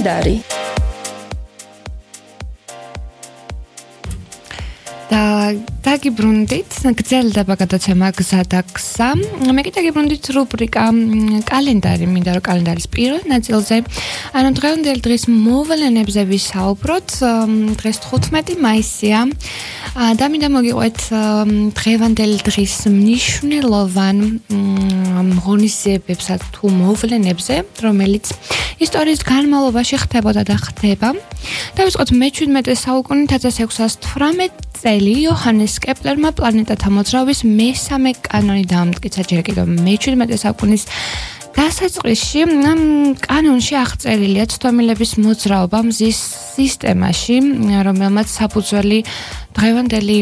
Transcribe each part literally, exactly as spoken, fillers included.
კალენდარი და დაგიბრუნდით გრძელდება გადაცემა გზა და გზა. მე კი დაგიბრუნდით რუბრიკა კალენდარი, მინდა რომ კალენდარის პირველ ნაწილზე, ანუ დღევანდელ დღის მოვლენებზე ვისაუბროთ. დღეს თხუთმეტი მაისია და მინდა მოგიყვეთ დღევანდელ დღის მნიშვნელოვან ღონისძიებებსა თუ მოვლენებზე, რომელიც ისტორიის განმავლობაში ხდებოდა და ხდება. დავიწყოთ მეჩვიდმეტე საუკუნით ათას ექვსას თვრამეტ წელი იოჰანეს კეპლერმა პლანეტათა მოძრაობის მესამე კანონი დაამტკიცა. ჯერ კიდევ მეჩვიდმეტე საუკუნის დასაწყისში ამ კანონში აღწერილია ცდომილების მოძრაობა მზის სისტემაში, რომელმაც საფუძველი დღევანდელი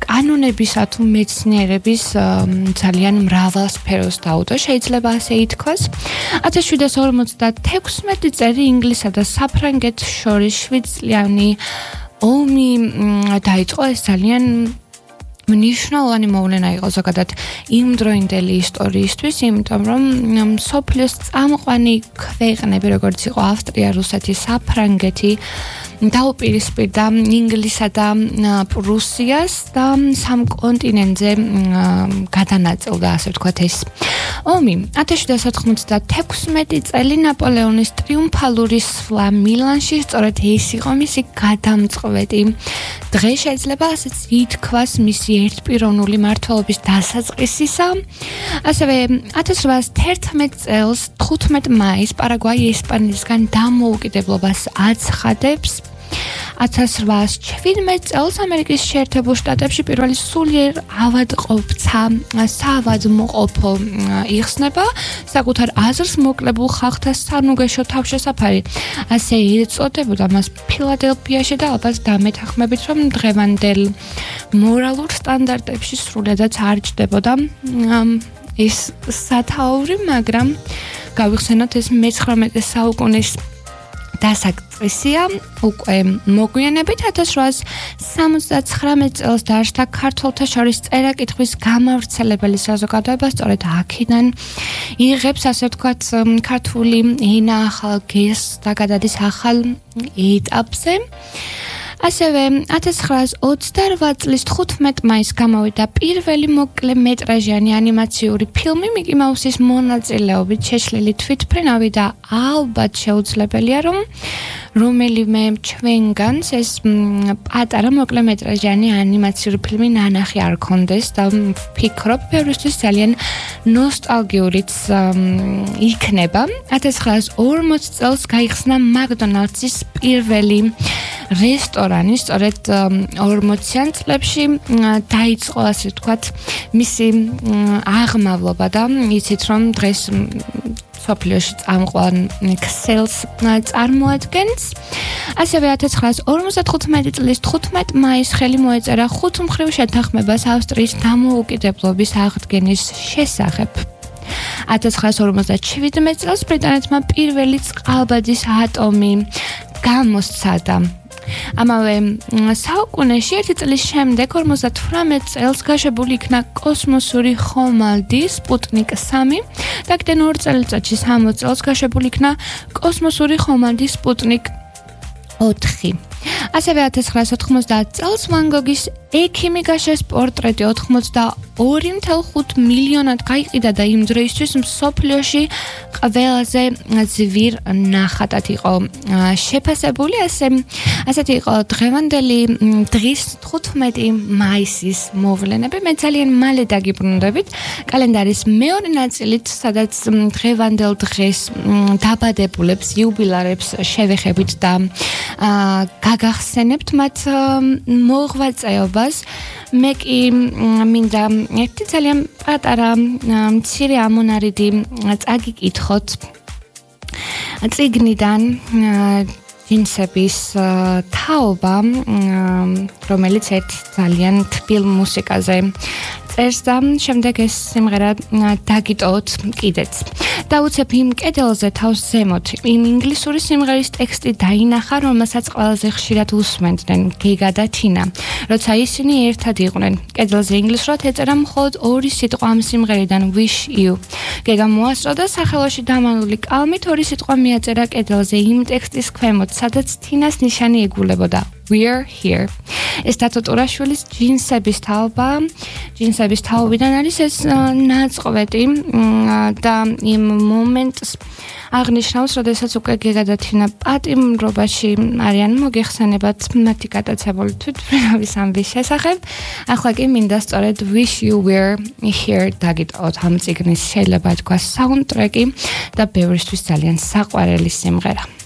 კანონებისა თუ მეცნიერების ძალიან მრავალ სფეროს დაუდო, შეიძლება ასე ითქვას. ათას შვიდსათ ორმოცდათექვსმეტი წელი ინგლისსა და საფრანგეთს შორის შვიდწლიანი ომი დაიწყო. ეს ძალიან მნიშვნელოვანი მოვლენა იყო ზოგადად იმდროინდელი ისტორიისთვის, იმიტომ რომ მსოფლიოს წამყვანი ქვეყნები, როგორც იყო ავსტრია, რუსეთი, საფრანგეთი, დაუპირისპირდა ინგლისსა და პრუსიას და სამ კონტინენტზე გადანაწილდა, ასე ვთქვათ, ეს ომი. ათას შვიდსათ ოცდათექვსმეტი წელი ნაპოლეონის ტრიუმფალური სვლა მილანში, სწორედ ეს იყო მისი გადამწყვეტი დღე, შეიძლება ასეც ითქვას მისი ერთპიროვნული მმართველობის დასაწყისისა. ასევე ათას რვაას თერთმეტ წელს თხუთმეტ მაისს პარაგვაი ესპანეთისგან დამოუკიდებლობას აცხადებს. ათას რვაას შვიდმეტ წელს ამერიკის შეერთებულ შტატებში პირველი სულიერ ავადმყოფთა საავადმყოფო იხსნება. საკუთარ აზრს მოკლებულ ხალხთა სანუგეშო თავშესაფარი, ასე ეწოდებოდა მას ფილადელფიაში და ალბათ დამეთანხმებით, რომ დღევანდელ მორალურ სტანდარტებში სრულიადაც არ ჯდებოდა ეს სათაური, მაგრამ გავიხსენოთ ეს მეცხრამეტე საუკუნის დასაწყისია. უკვე მოგვიანებით ათას რვაას სამოცდაცხრამეტ წელს დაარსდა ქართველთა შორის წერა-კითხვის გამავრცელებელი საზოგადოება, სწორედ აქედან იღებს, ასე ვთქვათ, ქართული ენა ახალ გეზს და გადადის ახალ ეტაპზე. ასევე ათას ცხრაას ოცდარვა წლის თხუთმეტ მაისს გამოვიდა პირველი მოკლემეტრაჟიანი ანიმაციური ფილმი მიკი მაუსის მონაწილეობით შეშლილი თვითმფრინავი და ალბათ შეუძლებელია, რომ რომელიმე ჩვენგანს ეს პატარა მოკლემეტრაჟიანი ანიმაციური ფილმი ნანახი არ ქონდეს და ვფიქრობ, ბევრისთვის ძალიან ნოსტალგიურიც იქნება. ათას ცხრაას ორმოც წელს გაიხსნა მაკდონალდსის პირველი რესტორანი, სწორედ ორმოციან წლებში დაიწყო, ასე ვთქვათ, მისი აღმავლობა და იცით, რომ დღეს მსოფლიოში წამყვან ქსელს წარმოადგენს. ასევე ათას ცხრაას ორმოცდათხუთმეტი წლის თხუთმეტ მაისს ხელი მოეწერა ხუთმხრივ შეთანხმებას ავსტრიის დამოუკიდებლობის აღდგენის შესახებ. ათას ცხრაას ორმოცდაშვიდმეტ წელს ბრიტანეთმა პირველი წყალბადის ატომი გამოსცადა. ამავე საუკუნეში ერთი წლის შემდეგ ორმოცდათვრამეტ წელს გაშვებული იქნა კოსმოსური ხომალდი სპუტნიკ სამი და კიდევ ორ წელიწადში სამოცდ წელს გაშვებული იქნა კოსმოსური ხომალდი სპუტნიკ ოთხი. ასევე ათას ცხრაას ოთხმოცდაათ წელს ვან გოგის ექიმი გაშეს პორტრეტი ოცდაორი ათეული ხუთი მილიონად გაიყიდა და იმ დროისთვის მსოფლიოში ყველაზე ძვირ ნახატად იყო შეფასებული. ასე ასეთი იყო დღევანდელი დღის თხუთმეტი მაისის მოვლენები. მე ძალიან მალე დაგიბრუნდებით კალენდარის მეორე ნაწილით, სადაც დღევანდელ დღეს დაბადებულებს, იუბილარებს შევეხებით და გაგახსენებთ მათ მოღვაწეობას. მე კი მინდა ერთი ძალიან პატარა მცირე ამონარიდი წაგიკითხოთ წიგნიდან ჯინსების თაობა, რომელიც ერთ ძალიან თბილ მუსიკაზე წერს და შემდეგ ეს სიმღერა დაგიტოვოთ კიდეც. დავუცებ იმ კედელზე თავს ზემოთ იმ ინგლისური სიმღერის ტექსტი დაინახა, რომელსაც ყველაზე ხშირად უსმენდნენ გეგა და თინა, როცა ისინი ერთად იყვნენ. კედელზე ინგლისურად ეწერა მხოლოდ ორი სიტყვა ამ სიმღერიდან wish you. გეგა მოასწრო და სახელოში დამალული კალმით ორი სიტყვა მიაწერა კედელზე იმ ტექსტის ქვემოთ, სადაც თინას ნიშანი იგულებოდა. We're here. ეს დათო ტურაშვილის ჯინსების თაობა, ჯინსების თაობიდან არის ეს ნაწყვეტი და იმ მომენტს აღნიშნავს, როდესაც უკვე გეგა და თინა პატიმრობაში არიან, მოგეხსენებათ მათი გატაცებული თვითმფრინავის ამბის შესახებ. ახლა კი მინდა სწორედ wish you were here დაგიტოვოთ ამ წიგნის, შეიძლება თქვა საუნდტრეკი და ბევრისთვის ძალიან საყვარელი სიმღერა.